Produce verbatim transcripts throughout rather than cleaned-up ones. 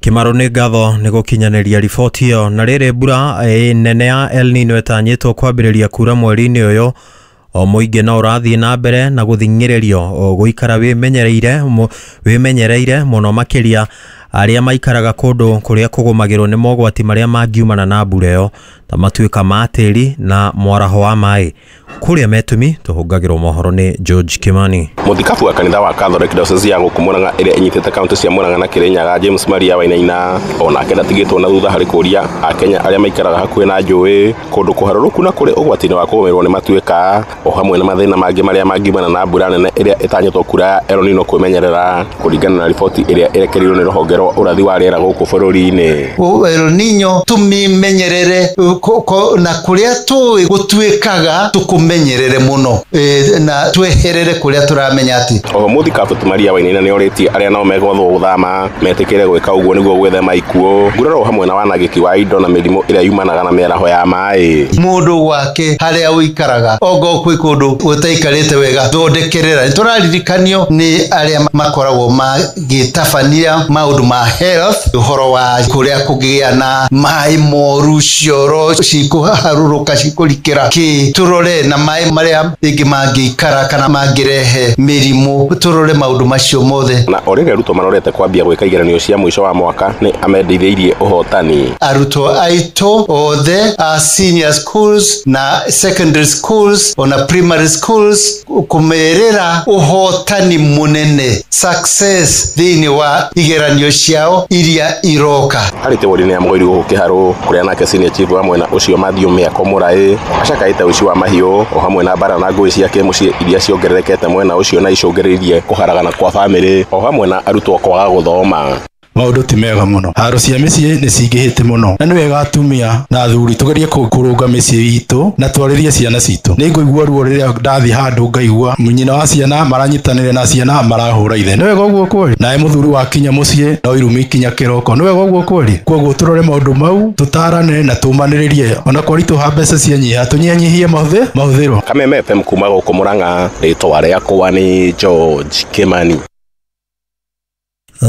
Kĩmaro, nĩ ngatho nĩ gũkinyanĩria riboti ĩyo. Na rĩrĩ, mbura eh, nene ya El Nino ĩtanyĩtwo kwambĩrĩria kura mweri-inĩ ũyũ, o mũingĩ no ũrathiĩ na mbere na gũthing'ĩrĩrio gũikara wĩmenyereire wĩmenyereire mũno, makĩria arĩa maikaraga kũndũ kũrĩa kũgũmagĩrwo nĩ mogwati marĩa mangiumana na mbura ĩyo, ta matuĩka ma tĩri na mwaraho wa maĩ. Kũrĩa metũmi tũhũngagĩrwo mohoro nĩ George Kimani. Mũthikabu wa kanitha wa Catholic Diocese ya gũkũ Murang'a, ĩrĩa ĩnyitĩte kaunti cia Murang'a na Kirinyaga, James Maria Wainaina, onake ndatigĩtwo na thutha harĩ kũria akenya arĩa maikaraga hakuhĩ na njũĩ, kũndũ kũharũrũku na kũrĩ ũgwati-inĩ wa kũgũmĩrwo nĩ matuĩka, o hamwe na mathĩna mangĩ marĩa mangiumana na mbura nene ĩrĩa ĩtanyĩtwo kura ya El Nino kwĩmenyerera, kũringana na riboti ĩrĩa ĩrekereirio nĩ rũhonge rwa ũrathi wa rĩera gũkũ bũrũri-inĩ. El Nino tũmimenyerere na kũrĩa tũĩ gũtuĩkaga tũkũmenyerere mũno e, na tweherere kũrĩa tũramenya atĩ. Oho mũthikabu Maria Wainaina nĩ orĩtie arĩa nao megwathwo gũthama metĩkĩre gwĩka ũguo nĩguo gwĩthema ikuũ, nguraro hamwe na wanangĩki wa indo na mĩrimũ ĩrĩa yumanaga na mĩaraho ya maĩ. Mũndũ gwake harĩa ũikaraga, ongo kwĩ kũndũ gũtaikarĩte wega, thondekerera. Nĩ tũraririkanio nĩ arĩa makoragwo magĩtabania maũndũ ma health, ũhoro wa kũrĩa kũngĩgĩa na maĩ moru, cioro cikũharũrũka, cikũrikĩra kĩ, tũrore na maĩ marĩa rĩngĩ mangĩikara kana mangĩrehe mĩrimũ, tũrore maũndũ macio mothe. Na o rĩrĩa arutwo marorete kwambia gwĩka igeranio cia mũico wa mwaka, nĩ amendithĩirie ũhotani. Arutwo aitũ othe a senior schools na secondary schools ona primary schools, kũmerĩra ũhotani mũnene, success, thĩinĩ wa igeranio ciao iria iroka. Harĩ tĩwori-inĩ ya Mũgũiri gũkũ Kĩharũ, kũrĩa nake senior chief wa mwena ũcio Matthew Mĩako Mũraĩ acakaĩte ũici wa mahiũ o hamwe na mbara na ngũĩ cia kĩmũciĩ iria ciongererekete mwena ũcio na icũngĩrĩirie kũharagana kwa bamĩrĩ o hamwe na arutwo kwaga gũthoma. Maũndũ ti mega mũno, haro cia mĩciĩ nĩ cingĩhĩte mũno, na nĩ wega atumia na athuri tũgerie kũrũnga mĩciĩ itũ na twarĩrie ciana citũ. Nĩ ngũigua ruo rĩrĩa ndathiĩ handũ ngaigua nyina wa ciana maranyitanĩra na ciana marahũra ithe. Nĩ wega ũguo kweli? Nawe mũthuri wakinya mũciĩ no irumi kinya kĩroko. Nĩ wega ũguo kweli? Koguo tũrore maũndũ mau, tũtarane na tũmanĩrĩrie, ona kwaritũha mbeca cianyiha, tũnyihanyihie mahũthĩro. Kameme F M kuma gũkũ Murang'a, rĩtwa rĩakwa nĩ George Kimani.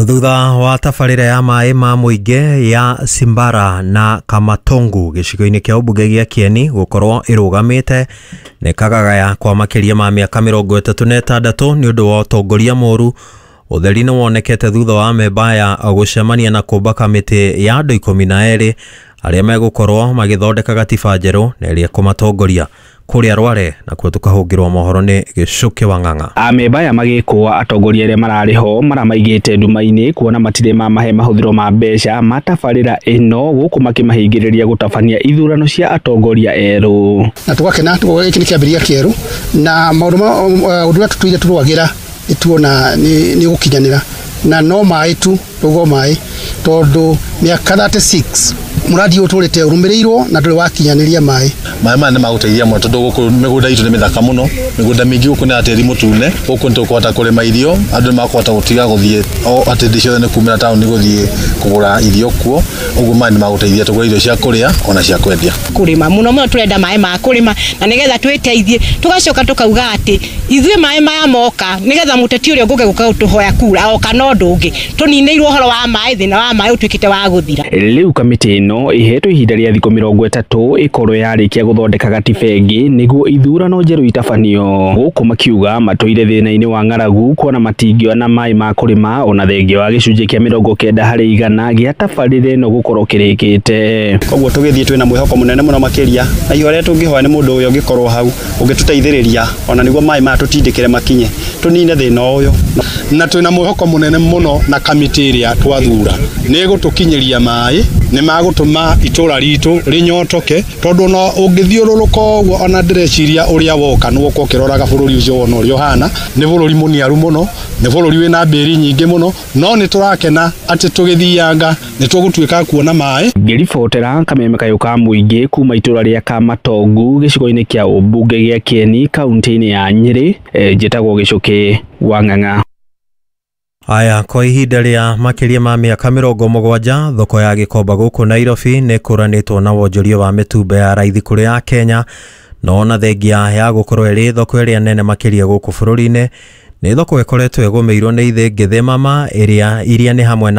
Thutha wa tabarĩra ya maĩ ma mũingĩ ya Simbara na Kamatongu gĩcigo-inĩ kĩa ũmbunge gĩa Kieni gũkorwo ĩrũgamĩte nĩ kagagaya kwa makĩria ma mĩaka mĩrongo ĩtatũ na ĩtandatũ nĩ ũndũ wa ũtongoria mũru, ũtheri nĩ wonekete thutha wa amemba aya gũcemania na kũmba kamĩtĩ ya andũ ikũmi na erĩ arĩa megũkorwo magĩthondeka gatiba njerũ na ĩrĩa ĩkũmatongoria. Kũrĩa Rware nakuo tũkahũngĩrwo mohoro nĩ Gĩcũkĩ wa Ng'ang'a. Amemba aya magĩkũa atongoria arĩa mararĩ ho maramaigĩte nduma-inĩ, kuona matirĩ mamahe mahũthĩro ma mbeca ma tabarĩra ĩno, gũkũ makĩmahingĩrĩria gũtabania ithurano cia atongoria erũ. Na tũgakena gĩkĩ nĩ kĩambĩrĩria kĩerũ, na maũndũ ũndũ ũrĩa tũtũire tũrũagĩra nĩ tuona nĩ gũkinyanĩra, na no maĩ tu rũgo maĩ, tondũ mĩaka thirty-six mũradi ũyũ ũtũrĩte ũrũmĩrĩirwo na ndũrĩ wakinyanĩria maĩ. Maĩ maya nĩ magũteithia mũno, tondũ gũkũ mĩgũnda itũ nĩ mĩthaka mũno, mĩgũnda mĩingĩ gũkũ nĩ ya tĩri mũtune, gũkũ nĩ tũkũhota kũrĩma irio, andũ nĩ makũhota gũtiga gũthiĩ o atĩ hĩndĩ ciothe nĩ kumĩra taũni gũthiĩ kũgũra irio kuo, ũguo maĩ nĩ magũteithia tũgũre irio cia kũrĩa ona cia kwendia. Kũrĩma mũno mũno tũrenda maĩ ma kũrĩma, na nĩgetha twĩteithie, tũgacoka tũkauga atĩ ithuĩ maĩ maya moka nĩgetha mũteti ũrĩa ũngũke gũka gũtũhoya kura oka na ũndũ ũngĩ, tũninĩirwo ũhoro wa maĩ, thĩna wa maĩ ũtuĩkĩte wa gũthira. Rĩu kamĩtĩ ĩno ĩhetwo ihinda rĩa thikũ mĩrongo ĩtatũ ĩkorwo yarĩkia gũthondeka gatiba ĩngĩ nĩguo ithurano njerũ itabanio, gũkũ makiuga matũire thĩna-inĩ wa ng'aragu, kuona matingĩona maĩ ma kũrĩma ona thengia wa gĩcunjĩ kĩa mĩrongo kenda harĩ igana gĩa tabarĩra ĩno gũkorwo kĩrĩkĩte. Koguo tũgĩthiĩ twĩna mwĩhoko mũnene mũno makĩria, na ihoya rĩrĩa tũngĩhoya nĩ mũndũ ũyũ ũngĩkorwo hau ũngĩtũteithĩrĩria ona nĩguo maĩ maya tũtindĩkĩre makinye tũnine thĩna ũyũ. Na twĩna mwĩhoko mũnene mũno na kamĩtĩ ĩrĩa twathura nĩ ĩgũtũkinyĩria maĩ, nĩ magũtũma itũra ritũ rĩnyotoke, tondũ no ũngĩthiũrũrũka ũguo ona ndĩreciria ũrĩa woka nĩ woka ũkĩroraga bũrũri ũcio wona ũrĩa ũhana, nĩ bũrũri mũniaru mũno, nĩ bũrũri wĩna mbĩri nyingĩ mũno, no nĩ tũrakena atĩ tũgĩthianga nĩ tũgũtuĩka kuona maĩ. Ngĩribotera kameme kayũ ka mũingĩ kuma itũra rĩa Kamatongu gĩcigo-inĩ kĩa ũmbunge gĩa Kieni kaunti-inĩ ya Nyĩrĩ, njĩtagwo Gĩcũkĩ wa Ng'ang'a. Aya, kwa ihinda rĩa makĩria ma mĩaka mĩrongo mũgwanja, thoko ya Gĩkomba gũkũ Nairobi nĩ ĩkũranĩtwo na wonjoria wa mĩtumba ya raithi kũrĩ ya Kenya, no ona thengia ya gũkorwo ĩrĩ thoko ĩrĩa nene makĩria gũkũ bũrũri-inĩ, nĩ thoko ĩkoretwo ĩgũmĩirwo nĩ ithĩngĩ mama ĩrĩa iria nĩ hamwe na